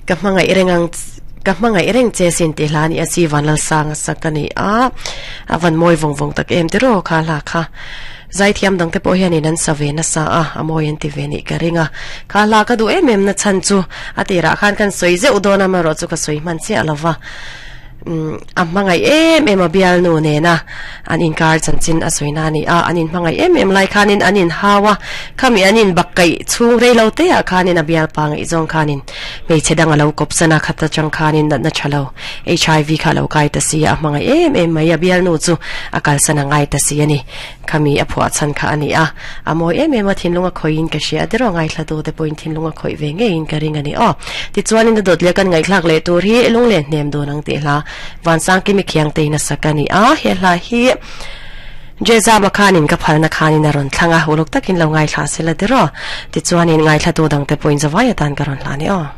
Ka hmangaih reng ang ka hmangaih reng che sin tih hla a ni a chi Vanlalsanga sak a ni a, a van mawi vawng vawng tak em tiraw kha hla kha. Zaithiam dang te pawh hianin an sa ve nasa a, a mawi an ti ve nih ka ring a. Kha hla ka duh em em na chhan chu a tirah khan kan sawi zeuh dawn a, amaherawh chu ka sawi hman chiah lo va. Umm a hmangaih em em a bialnu nena an inkar chanchin a sawi na a ni a, an inhmangaih em em lai khanin an inhau a, khami an inbakkaih chhung rei lo te ah khanin a bialpa ngaihzawng khanin hmeichhe dang a lo kawp san a, khat atang khanin natna tha lo HIV kha a lo kai ta si a, a hmangaih em em mai a bialnu chu a kalsan a ngai ta si a ni. Khami a phuah chhan kha a ni a, a mawi em em a, thinlung a khawihin ka hria a, tiraw ngaithlatu te pawhin thinlung a khawih ve ngeiin ka ring a ni aw. Tichuanin a dawt leh kan ngaihthlak leh tur hi lung leh hnem dun ang tih hla Vansangkimi Khiangtein a sak a ni a, he hla hi Jezama khanin ka phalna khanin a rawn thlang a, uluk takin lo ngaithla sela tiraw. Tichuanin ngaithlatu dangte pawhin zavai atan ka rawn hla a ni aw.